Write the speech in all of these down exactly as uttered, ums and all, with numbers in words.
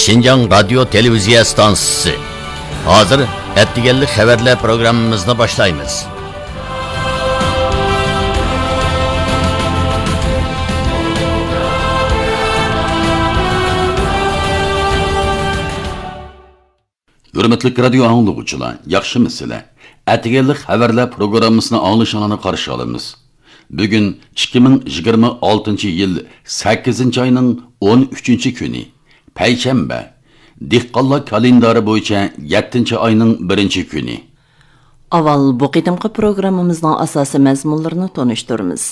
شىنجاڭ رادىيو تېلېۋىزىيە ئىستانسىسى. ھازىر ئەتىگەنلىك خەۋەرلەر پروگراممىمىزنى باشلايمىز. ھۆرمەتلىك رادىيو ئاڭلىغۇچىلار، ياخشىمۇسىلەر؟ ئەتىگەنلىك خەۋەرلەر پروگراممىسىنى ئاڭلىشىڭلارنى قارشى ئالىمىز. بۈگۈن ئىككى مىڭ يىگىرمە ئالتىنچى يىل سەككىزىنچى ئاينىڭ ئون ئۈچىنچى كۈنى، پەيشەنبە. دېھقانلار كالېندارى بويىچە يەتتىنچى ئاينىڭ بىرىنچى كۈنى. ئاۋۋال بۇ قېتىمقى پروگراممىمىزنىڭ ئاساسىي مەزمۇنلىرىنى تونۇشتۇرىمىز.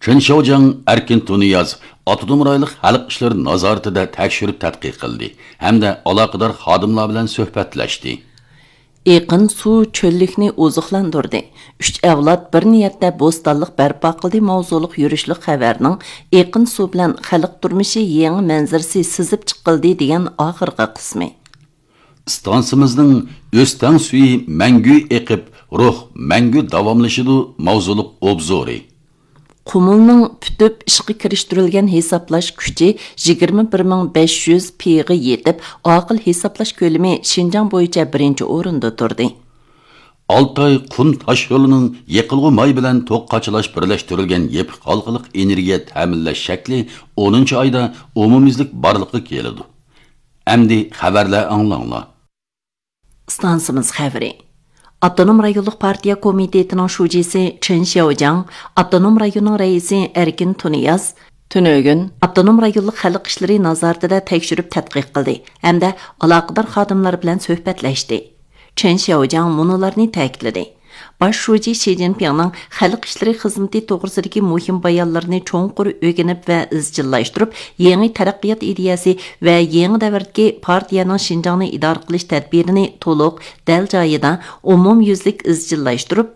چېن شياۋجياڭ ئەركىن تۇنىياز ئاپتونوم رايونلۇق خەلق ئىشلىرى نازارىتىدە تەكشۈرۈپ تەتقىق قىلدى ھەمدە ئالاقىدار خادىملار بىلەن سۆھبەتلەشتى. ئېقىن سۇ چۆللۈكنى ئوزۇقلاندۇردى. ئۈچ ئەۋلاد بىر نىيەتتە بوستانلىق بەرپا قىلدى ماۋزۇلۇق يۈرۈشلۈك خەۋەرنىڭ ئېقىن سۇ بىلەن خەلق تۇرمۇشى يېڭى مەنزىرىسى سىزىپ چىقىلدى دېگەن ئاخىرقى قىسمى. ئىستانسىمىزنىڭ ئۆستەڭ سۈيى مەڭگۈ ئېقىپ، روھ مەڭگۈ داۋاملىشىدۇ ماۋزۇلۇق ئوبزورى. قۇمۇلنىڭ پۈتۈپ ئىشقا كىرىشتۈرۈلگەن ھېسابلاش كۈچى يىگىرمە بىر مىڭ بەش يۈز پىغا يېتىپ، ئاقىل ھېسابلاش كۆلىمى شىنجاڭ بويىچە بىرىنچى ئورۇندا تۇردى. ئالتاي قۇم تاشيولىنىڭ يېقىلغۇ ماي بىلەن توك قاچىلاش بىرلەشتۈرۈلگەن يېپىق ھالقىلىق ئېنېرگىيە تەمىنلەش شەكلى ئونىنچى ئايدا ئومۇميۈزلۈك بارلىققا كېلىدۇ. ئەمدى خەۋەرلەر ئاڭلاڭلار. ئىستانسىمىز خەۋىرى. ئاپتونوم رايونلۇق پارتىيە كومىتېتىنىڭ شۇجىسى چېن شياۋجياڭ، ئاپتونوم رايوننىڭ رەئىسى ئەركىن تۇنىياز تۈنۈگۈن ئاپتونوم رايونلۇق خەلق ئىشلىرى نازارىتىدە تەكشۈرۈپ تەتقىق قىلدى ھەمدە ئالاقىدار خادىملار بىلەن سۆھبەتلەشتى. چېن شياۋجياڭ مۇنۇلارنى تەكىتلىدى. باش شۇجى شى جىنپىڭنىڭ خەلق ئىشلىرى خىزمىتى توغرىسىدىكى مۇھىم بايانلىرىنى چوڭقۇر ئۆگىنىپ ۋە ئىزچىللاشتۇرۇپ، يېڭى تەرەققىيات ئىدىيەسى ۋە يېڭى دەۋردىكى پارتىيەنىڭ شىنجاڭنى ئىدارە قىلىش تەدبىرىنى تولۇق، دەل جايىدا، ئومۇميۈزلۈك ئىزچىللاشتۇرۇپ،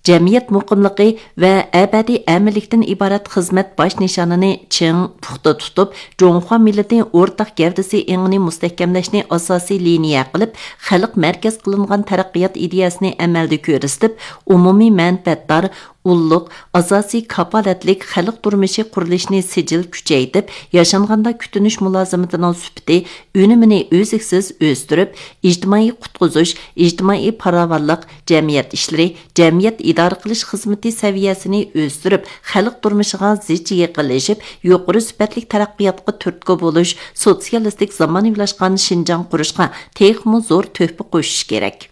جەمئىيەت مۇقىملىقى ۋە ئەبەدىي ئەمىنلىكتىن ئىبارەت خىزمەت باش نىشانىنى چىڭ، پۇختا تۇتۇپ، جۇڭخۇا مىللىتى ئورتاق گەۋدىسى ئېڭىنى مۇستەھكەملەشنى ئاساسىي لىنىيە قىلىپ، خەلق مەركەز قىلىنغان تەرەققىيات ئىدىيەسىنى ئەمەلدە كۆرسىتىپ، ئومۇمىي مەنپەئەتدار، ئۇللۇق، ئاساسىي كاپالەتلىك خەلق تۇرمۇشى قۇرۇلۇشىنى سىجىل كۈچەيتىپ، ياشانغاندا كۈتۈنۈش مۇلازىمىتىنىڭ سۈپىتى، ئۈنۈمىنى ئۈزلۈكسىز ئۆستۈرۈپ، ئىجتىمائىي قۇتقۇزۇش، ئىجتىمائىي پاراۋانلىق، جەمئىيەت ئىشلىرى، جەمئىيەت ئىدارە قىلىش خىزمىتى سەۋىيەسىنى ئۆستۈرۈپ، خەلق تۇرمۇشىغا زىچ يېقىنلىشىپ، يۇقىرى سۈپەتلىك تەرەققىياتقا تۈرتكە بولۇش، سوتسىيالىستىك زامانىۋىلاشقان شىنجاڭ قۇرۇشقا تېخىمۇ زور تۆھپە قوشۇش كېرەك.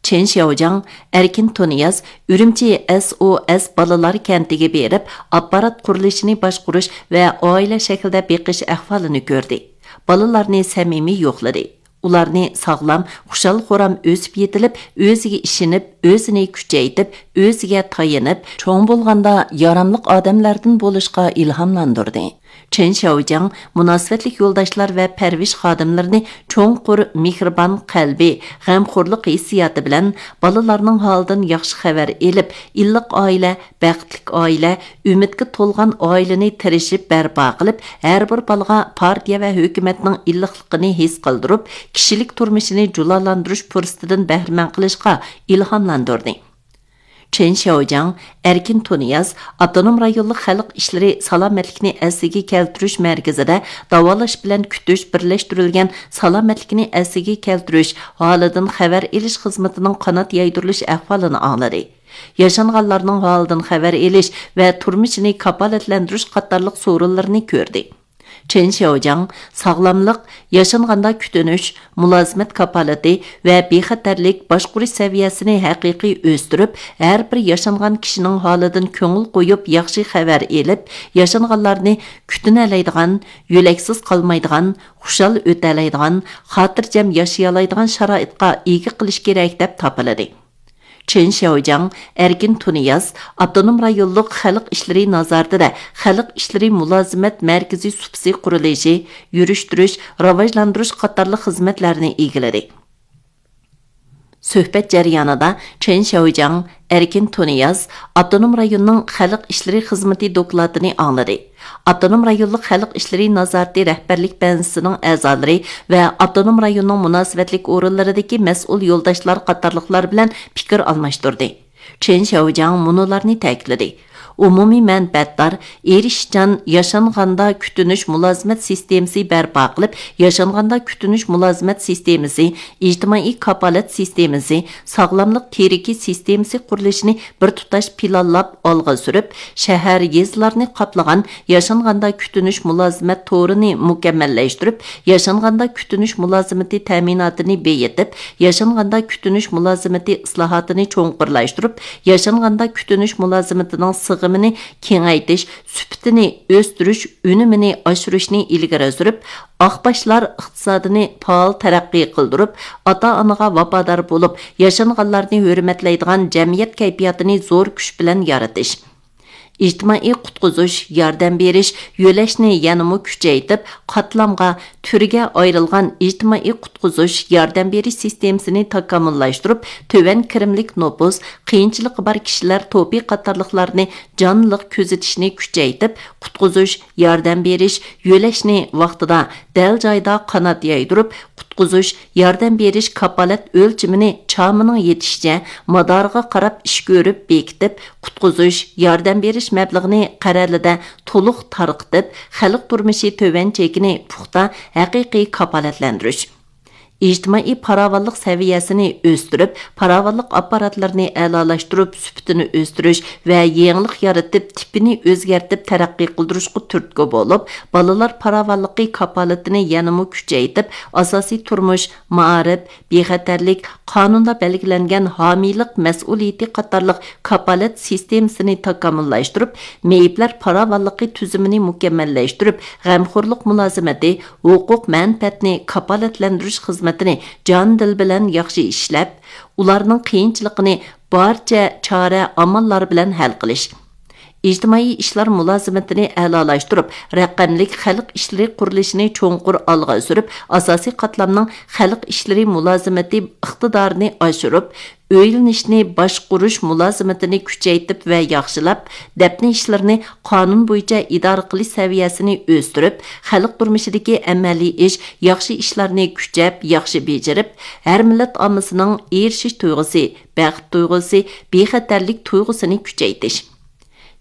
چېن شياۋجياڭ، ئەركىن تۇنىياز ئۈرۈمچى ئەس ئو ئەس بالىلار كەنتىگە بېرىپ، ئاپپارات قۇرۇلۇشىنى باشقۇرۇش ۋە ئائىلە شەكلىدە بېقىش ئەھۋالىنى كۆردى. بالىلارنى سەمىمىي يوقلىدى. ئۇلارنى ساغلام، خۇشال-خۇرام ئۆسۈپ يېتىلىپ، ئۆزىگە ئىشىنىپ، ئۆزىنى كۈچەيتىپ، ئۆزىگە تايىنىپ، چوڭ بولغاندا ياراملىق ئادەملەردىن بولۇشقا ئىلھاملاندۇردى. چېن شياۋجياڭ مۇناسىۋەتلىك يولداشلار ۋە پەرۋىش خادىملىرىنى چوڭقۇر مېھرىبان قەلبى، غەمخورلۇق ھېسسىياتى بىلەن بالىلارنىڭ ھالىدىن ياخشى خەۋەر ئېلىپ، ئىللىق ئائىلە، بەختلىك ئائىلە، ئۈمىدكە تولغان ئائىلىنى تىرىشىپ بەرپا قىلىپ، ھەر بىر بالىغا پارتىيە ۋە ھۆكۈمەتنىڭ ئىللىقلىقىنى ھېس قىلدۇرۇپ، كىشىلىك تۇرمۇشىنى جۇلالاندۇرۇش پۇرسىتىدىن بەھرىمەن قىلىشقا ئىلھاملاندۇردى. چېن شياۋجياڭ، ئەركىن تۇنىياز ئاپتونوم رايونلۇق خەلق ئىشلىرى سالامەتلىكنى ئەسلىگە كەلتۈرۈش مەركىزىدە داۋالاش بىلەن كۈتۈش بىرلەشتۈرۈلگەن سالامەتلىكنى ئەسلىگە كەلتۈرۈش، ھالىدىن خەۋەر ئېلىش خىزمىتىنىڭ قانات يايدۇرۇلۇش ئەھۋالىنى ئاڭلىدى. ياشانغانلارنىڭ ھالىدىن خەۋەر ئېلىش ۋە تۇرمۇشىنى كاپالەتلەندۈرۈش قاتارلىق سورۇنلىرىنى كۆردى. چېن شياۋجياڭ ساغلاملىق، ياشانغاندا كۈتۈنۈش، مۇلازىمەت كاپالىتى ۋە بىخەتەرلىك باشقۇرۇش سەۋىيەسىنى ھەقىقىي ئۆستۈرۈپ، ھەر بىر ياشانغان كىشىنىڭ ھالىدىن كۆڭۈل قويۇپ ياخشى خەۋەر ئېلىپ، ياشانغانلارنى كۈتۈنەلەيدىغان، يۆلەكسىز قالمايدىغان، خۇشال ئۆتەلەيدىغان، خاتىرجەم ياشىيالايدىغان شارائىتقا ئىگە قىلىش كېرەك دەپ تاپىلىدى. چېن شياۋجياڭ، ئەركىن تۇنىياز ئاپتونوم رايونلۇق خەلق ئىشلىرى نازارىتىدە خەلق ئىشلىرى مۇلازىمەت مەركىزى سۇپىسى قۇرۇلۇشى، يۈرۈشتۈرۈش، راۋاجلاندۇرۇش قاتارلىق خىزمەتلەرنى ئىگىلىدى. سۆھبەت جەريانىدا چېن شياۋجياڭ، ئەركىن تۇنىياز ئاپتونوم رايوننىڭ خەلق ئىشلىرى خىزمىتى دوكلاتىنى ئاڭلىدى. ئاپتونوم رايونلۇق خەلق ئىشلىرى نازارىتى رەھبەرلىك بەنزىسىنىڭ ئەزالىرى ۋە ئاپتونوم رايوننىڭ مۇناسىۋەتلىك ئورۇنلىرىدىكى مەسئۇل يولداشلار قاتارلىقلار بىلەن پىكىر ئالماشتۇردى. چېن شياۋجياڭ مۇنۇلارنى تەكىتلىدى: ئومۇمىي مەنپەئەتدار، ئېرىشىشچان ياشانغاندا كۈتۈنۈش مۇلازىمەت سىستېمىسى بەرپا قىلىپ، ياشانغاندا كۈتۈنۈش مۇلازىمەت سىستېمىسى، ئىجتىمائىي كاپالەت سىستېمىسى، ساغلاملىق تىرىكى سىستېمىسى قۇرۇلۇشىنى بىر تۇتاش پىلانلاپ ئالغا سۈرۈپ، شەھەر، يېزىلارنى قاپلىغان ياشانغاندا كۈتۈنۈش مۇلازىمەت تورىنى مۇكەممەللەشتۈرۈپ، ياشانغاندا كۈتۈنۈش مۇلازىمىتى تەمىناتىنى بېيىتىپ، ياشانغاندا كۈتۈنۈش مۇلازىمىتى ئىسلاھاتىنى چوڭقۇرلاشتۇرۇپ، ياشانغاندا كۈتۈنۈش مۇلازىمىتىنىڭ سىغىمىنى كېڭەيتىش، سۈپىتىنى ئۆستۈرۈش، ئۈنۈمىنى ئاشۇرۇشنى ئىلگىرى سۈرۈپ، ئاق باشلار ئىقتىسادىنى پائال تەرەققىي قىلدۇرۇپ، ئاتا-ئانىغا ۋاپادار بولۇپ، ياشانغانلارنى ھۆرمەتلەيدىغان جەمئىيەت كەيپىياتىنى زور كۈچ بىلەن يارىتىش. ئىجتىمائىي قۇتقۇزۇش، ياردەم بېرىش، يۆلەشنى يەنىمۇ كۈچەيتىپ، قاتلامغا، تۈرگە ئايرىلغان ئىجتىمائىي قۇتقۇزۇش، ياردەم بېرىش سىستېمىسىنى تاكامۇللاشتۇرۇپ، تۆۋەن كىرىملىك نوپۇس، قىيىنچىلىقى بار كىشىلەر توپى قاتارلىقلارنى جانلىق كۆزىتىشنى كۈچەيتىپ، قۇتقۇزۇش، ياردەم بېرىش، يۆلەشنى ۋاقتىدا، دەل جايىدا قانات يايدۇرۇپ، قۇتقۇزۇش، ياردەم بېرىش كاپالەت ئۆلچىمىنى چامىنىڭ يېتىشىچە مادارىغا قاراپ ئىش كۆرۈپ بېكىتىپ، قۇتقۇزۇش، ياردەم بېرىش مەبلىغىنى قەرەلىدە تولۇق تارقىتىپ، خەلق تۇرمۇشى تۆۋەن چېكىنى پۇختا، ھەقىقىي كاپالەتلەندۈرۈش. ئىجتىمائىي پاراۋانلىق سەۋىيەسىنى ئۆستۈرۈپ، پاراۋانلىق ئاپپاراتلىرىنى ئەلالاشتۇرۇپ، سۈپىتىنى ئۆستۈرۈش ۋە يېڭىلىق يارىتىپ، تىپىنى ئۆزگەرتىپ تەرەققىي قىلدۇرۇشقا تۈرتكە بولۇپ، بالىلار پاراۋانلىقى كاپالىتىنى يەنىمۇ كۈچەيتىپ، ئاساسىي تۇرمۇش، مائارىپ، بىخەتەرلىك، قانۇندا بەلگىلەنگەن ھامىيلىق مەسئۇلىيىتى قاتارلىق كاپالەت سىستېمىسىنى تاكامۇللاشتۇرۇپ، مېيىپلەر پاراۋانلىقى تۈزۈمىنى مۇكەممەللەشتۈرۈپ، غەمخورلۇق مۇلازىمىتى، ھوقۇق مەنپەئەتنى كاپالەتلەندۈرۈش خىزمىتىنى جان-دىل بىلەن ياخشى ئىشلەپ، ئۇلارنىڭ قىيىنچىلىقىنى بارچە چارە ئاماللار بىلەن ھەل قىلىش. ئىجتىمائىي ئىشلار مۇلازىمىتىنى ئەلالاشتۇرۇپ، رەقەملىك خەلق ئىشلىرى قۇرۇلۇشىنى چوڭقۇر ئالغا سۈرۈپ، ئاساسىي قاتلامنىڭ خەلق ئىشلىرى مۇلازىمىتى ئىقتىدارىنى ئاشۇرۇپ، ئۆيلىنىشنى باشقۇرۇش مۇلازىمىتىنى كۈچەيتىپ ۋە ياخشىلاپ، دەپنە ئىشلىرىنى قانۇن بويىچە ئىدارە قىلىش سەۋىيەسىنى ئۆستۈرۈپ، خەلق تۇرمۇشىدىكى ئەمەلىي ئىش، ياخشى ئىشلارنى كۈچەپ، ياخشى بېجىرىپ، ھەر مىللەت ئاممىسىنىڭ ئېرىشىش تۇيغۇسى، بەخت تۇيغۇسى، بىخەتەرلىك تۇيغۇسىنى كۈچەيتىش.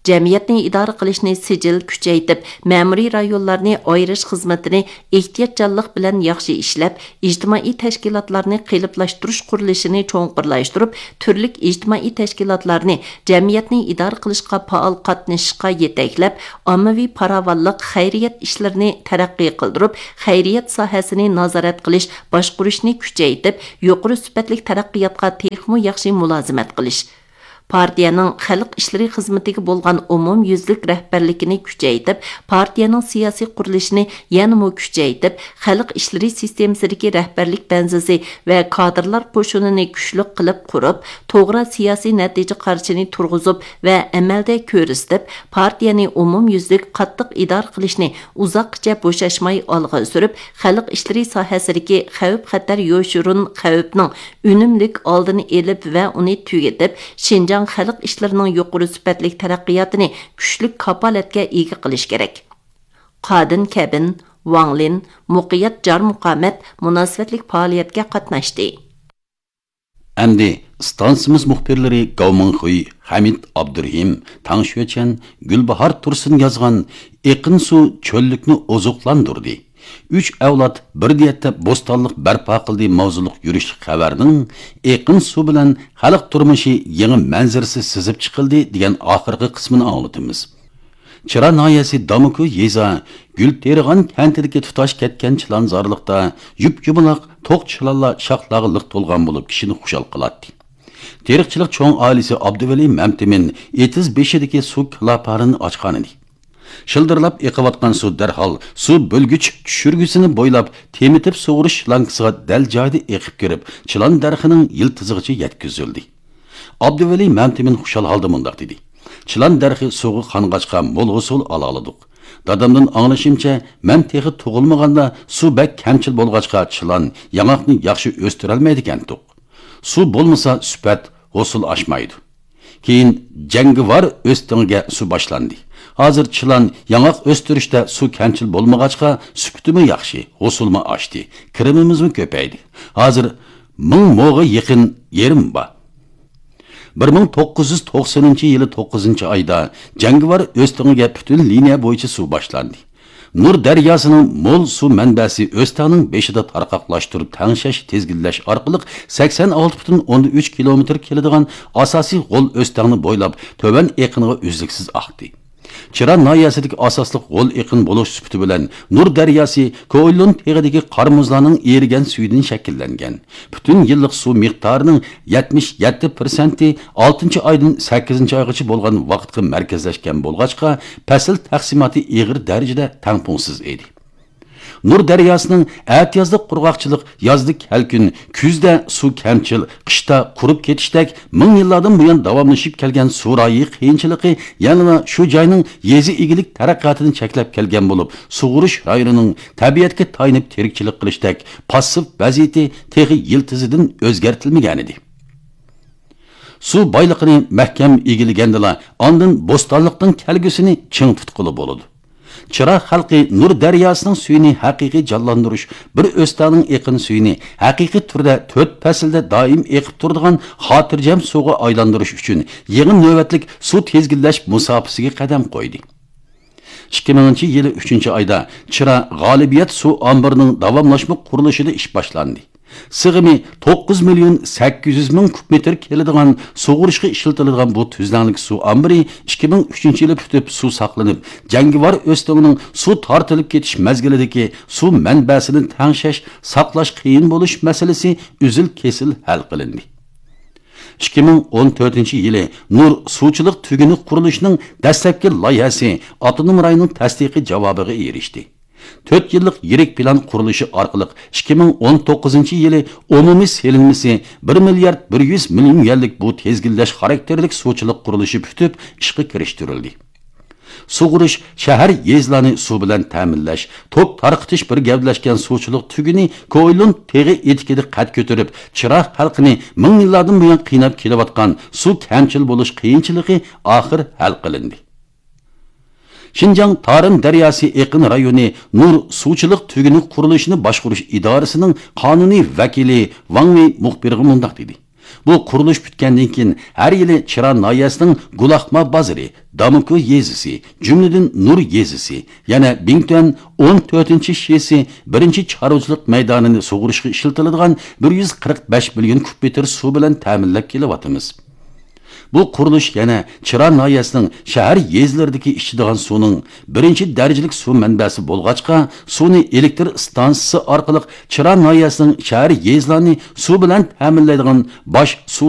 جەمئىيەتنى ئىدارە قىلىشنى سىجىل كۈچەيتىپ، مەمۇرىي رايونلارنى ئايرىش خىزمىتىنى ئېھتىياتچانلىق بىلەن ياخشى ئىشلەپ، ئىجتىمائىي تەشكىلاتلارنى قېلىپلاشتۇرۇش قۇرۇلۇشىنى چوڭقۇرلاشتۇرۇپ، تۈرلۈك ئىجتىمائىي تەشكىلاتلارنى جەمئىيەتنى ئىدارە قىلىشقا پائال قاتنىشىشقا يېتەكلەپ، ئاممىۋى پاراۋانلىق، خەيرىيەت ئىشلىرىنى تەرەققىي قىلدۇرۇپ، خەيرىيەت ساھەسىنى نازارەت قىلىش، باشقۇرۇشنى كۈچەيتىپ، يۇقىرى سۈپەتلىك تەرەققىياتقا تېخىمۇ ياخشى مۇلازىمەت قىلىش. پارتىيەنىڭ خەلق ئىشلىرى خىزمىتىگە بولغان ئومۇميۈزلۈك رەھبەرلىكىنى كۈچەيتىپ، پارتىيەنىڭ سىياسىي قۇرۇلۇشىنى يەنىمۇ كۈچەيتىپ، خەلق ئىشلىرى سىستېمىسىدىكى رەھبەرلىك بەنزىسى ۋە كادىرلار قوشۇنىنى كۈچلۈك قىلىپ قۇرۇپ، توغرا سىياسىي نەتىجە قارىشىنى تۇرغۇزۇپ ۋە ئەمەلدە كۆرسىتىپ، پارتىيەنى ئومۇميۈزلۈك قاتتىق ئىدارە قىلىشنى ئۇزاققىچە بوشاشماي ئالغا سۈرۈپ، خەلق ئىشلىرى ساھەسىدىكى خەۋپ-خەتەر يوشۇرۇن خەۋپنىڭ ئۈنۈملۈك ئالدىنى ئېلىپ ۋە ئۇنى تۈگىتىپ، شىنجاڭ خەلق ئىشلىرىنىڭ يۇقىرى سۈپەتلىك تەرەققىياتىنى كۈچلۈك كاپالەتكە ئىگە قىلىش كېرەك. قادىن كەبىن، ۋاڭ لىن، مۇقىيەت جارمۇقامەت مۇناسىۋەتلىك پائالىيەتكە قاتناشتى. ئەمدى ئىستانسىمىز مۇخبىرلىرى گاۋ مىڭخۇي، خەمىت ئابدۇرېھىم، تاڭ شۆچەن، گۈلباھار تۇرسۇن يازغان ئېقىن سۇ چۆللۈكنى ئوزۇقلاندۇردى. ئۈچ ئەۋلاد بىر نىيەتتە بوستانلىق بەرپا قىلدى ماۋزۇلۇق يۈرۈشلۈك خەۋەرنىڭ ئېقىن سۇ بىلەن خەلق تۇرمۇشى يېڭى مەنزىرىسى سىزىپ چىقىلدى دېگەن ئاخىرقى قىسمىنى ئاڭلىتىمىز. چىرا ناھىيەسى دامۇكۇ يېزا گۈلتېرىغان كەنتىدىكى تۇتاش كەتكەن چىلانزارلىقتا يۇپ-يۇمىلاق توق چىلانلار شاخلارغا لىق تولغان بولۇپ، كىشىنى خۇشال قىلاتتى. تېرىقچىلىق چوڭ ئائىلىسى ئابدۇۋەلى مەمتىمىن ئېتىز بېشىدىكى سۇ كىلاپارىنى ئاچقانىدى. شىلدىرلاپ ئېقىۋاتقان سۇ دەرھال سۇ بۆلگۈچ چۈشۈرگۈسىنى بويلاپ تېمىتىپ سۇغۇرۇش شلانكىسىغا دەل جايىدا ئېقىپ كىرىپ، چىلان دەرىخىنىڭ يىلتىزىغىچە يەتكۈزۈلدى. ئابدۇۋەلى مەمتىمىن خۇشال ھالدا مۇنداق دېدى: «چىلان دەرىخى سۇغا قانغاچقا مول ھوسۇل ئالالىدۇق. دادامدىن ئاڭلىشىمچە، مەن تېخى تۇغۇلمىغاندا سۇ بەك كەمچىل بولغاچقا چىلان، ياڭاقنى ياخشى ئۆستۈرەلمەيدىكەنتۇق. سۇ بولمىسا سۈپەت، ھوسۇل ئاشمايدۇ. كېيىن جەڭگىۋار ئۆستىڭىگە سۇ باشلاندى. ھازىر چىلان، ياڭاق ئۆستۈرۈشتە سۇ كەمچىل بولمىغاچقا، سۈپىتىمۇ ياخشى، ھوسۇلمۇ ئاشتى، كىرىمىمىزمۇ كۆپەيدى. ھازىر مىڭ موغا يېقىن يېرىم بار.» بىر مىڭ توققۇز يۈز توقسىنىنچى يىلى توققۇزىنچى ئايدا جەڭگىۋار ئۆستىڭىگە پۈتۈن لىنىيە بويىچە سۇ باشلاندى. نۇر دەرياسىنىڭ مول سۇ مەنبەسى ئۆستەڭنىڭ بېشىدا تارقاقلاشتۇرۇپ تەڭشەش، تىزگىنلەش ئارقىلىق سەكسەن ئالتە پۈتۈن ئوندىن ئۈچ كىلومېتىر كېلىدىغان ئاساسىي غول ئۆستەڭنى بويلاپ تۆۋەن ئېقىنغا ئۈزلۈكسىز ئاقتى. چىرا ناھىيەسىدىكى ئاساسلىق غول ئېقىن بولۇش سۈپىتى بىلەن نۇر دەرياسى كوئىلون تېغىدىكى قار مۇزلارنىڭ ئېرىگەن سۈيىدىن شەكىللەنگەن. پۈتۈن يىللىق سۇ مىقدارىنىڭ يەتمىش يەتتە پىرسەنتى ئالتىنچى ئايدىن سەككىزىنچى ئايغىچە بولغان ۋاقىتقا مەركەزلەشكەن بولغاچقا، پەسىل تەقسىماتى ئېغىر دەرىجىدە تەڭپۇڭسىز ئىدى. نۇر دەرياسىنىڭ ئەتىيازلىق قۇرغاقچىلىق، يازدا كەلكۈن، كۈزدە سۇ كەمچىل، قىشتا قۇرۇپ كېتىشتەك مىڭ يىللاردىن بۇيان داۋاملىشىپ كەلگەن سۇ رايى قىيىنچىلىقى يەنىلا شۇ جاينىڭ يېزا ئىگىلىك تەرەققىياتىنى چەكلەپ كەلگەن بولۇپ، سۇغۇرۇش رايونىنىڭ تەبىئەتكە تايىنىپ تىرىكچىلىك قىلىشتەك پاسسىپ ۋەزىيىتى تېخى يىلتىزىدىن ئۆزگەرتىلمىگەنىدى. سۇ بايلىقىنى مەھكەم ئىگىلىگەندىلا، ئاندىن بوستانلىقنىڭ كەلگۈسىنى چىڭ تۇتقىلى بولىدۇ. چىرا خەلقى نۇر دەرياسىنىڭ سۈيىنى ھەقىقىي جانلاندۇرۇش، بىر ئۆستەڭنىڭ ئېقىن سۈيىنى ھەقىقىي تۈردە تۆت پەسىلدە دائىم ئېقىپ تۇرىدىغان خاتىرجەم سۇغا ئايلاندۇرۇش ئۈچۈن يېڭى نۆۋەتلىك سۇ تىزگىنلەش مۇساپىسىگە قەدەم قويدى. ئىككى مىڭىنچى يىلى ئۈچىنچى ئايدا چىرا غالىبىيەت سۇ ئامبىرىنىڭ داۋاملاشما قۇرۇلۇشىدا ئىش باشلاندى. سىغىمى توققۇز مىليون سەككىز يۈز مىڭ كۇب مېتىر كېلىدىغان سۇغۇرۇشقا ئىشلىتىلىدىغان بۇ تۈزلەڭلىك سۇ ئامبىرى ئىككى مىڭ ئۈچىنچى يىلى پۈتۈپ سۇ ساقلىنىپ، جەڭگىۋار ئۆستىڭىنىڭ سۇ تارتىلىپ كېتىش مەزگىلىدىكى سۇ مەنبەسىنى تەڭشەش، ساقلاش قىيىن بولۇش مەسىلىسى ئۈزۈل-كېسىل ھەل قىلىندى. ئىككى مىڭ ئون تۆتىنچى يىلى نۇر سۇچىلىق تۈگۈنى قۇرۇلۇشىنىڭ دەسلەپكى لايىھەسى ئاپتونوم رايوننىڭ تەستىقىي جاۋابىغا ئېرىشتى. تۆت يىللىق يىرىك پىلان قۇرۇلۇشى ئارقىلىق ئىككى مىڭ ئون توققۇزىنچى يىلى ئومۇمىي سېلىنمىسى بىر مىليارد بىر يۈز مىليون يۈەنلىك بۇ تىزگىنلەش خاراكتېرلىك سۇچىلىق قۇرۇلۇشى پۈتۈپ ئىشقا كىرىشتۈرۈلدى. سۇغۇرۇش، شەھەر، يېزىلارنى سۇ بىلەن تەمىنلەش، توك تارقىتىش بىر گەۋدىلەشكەن سۇچىلىق تۈگۈنى كوئىلون تېغى ئېتىكىدە قەد كۆتۈرۈپ، چىرا خەلقىنى مىڭ يىللاردىن بۇيان قىيناپ كېلىۋاتقان سۇ كەمچىل بولۇش قىيىنچىلىقى ئاخىر ھەل قىلىندى. شىنجاڭ تارىم دەرياسى ئېقىن رايونى نۇر سۇچىلىق تۈگۈنى قۇرۇلۇشىنى باشقۇرۇش ئىدارىسىنىڭ قانۇنىي ۋەكىلى ۋاڭ ۋېي مۇخبىرغا مۇنداق دېدى: بۇ قۇرۇلۇش پۈتكەندىن كېيىن، ھەر يىلى چىرا ناھىيەسىنىڭ گۇلاخما بازىرى، داموكو يېزىسى، جۈملىدىن نۇر يېزىسى، يەنە بىڭتۈەن ئون تۆتىنچى شىسى بىرىنچى چارۋىچىلىق مەيدانىنى سۇغۇرۇشقا ئىشلىتىلىدىغان بىر يۈز قىرىق بەش مىليون كۇب مېتىر سۇ بىلەن تەمىنلەپ كېلىۋاتىمىز. بۇ قۇرۇلۇش يەنە چىرا ناھىيەسىنىڭ شەھەر يېزىلىرىدىكى ئىچىدىغان سۇنىڭ بىرىنچى دەرىجىلىك سۇ مەنبەسى بولغاچقا، سۇنى ئېلېكتر ئىستانسىسى ئارقىلىق چىرا ناھىيەسىنىڭ شەھەر يېزىلارنى سۇ بىلەن تەمىنلەيدىغان باش سۇ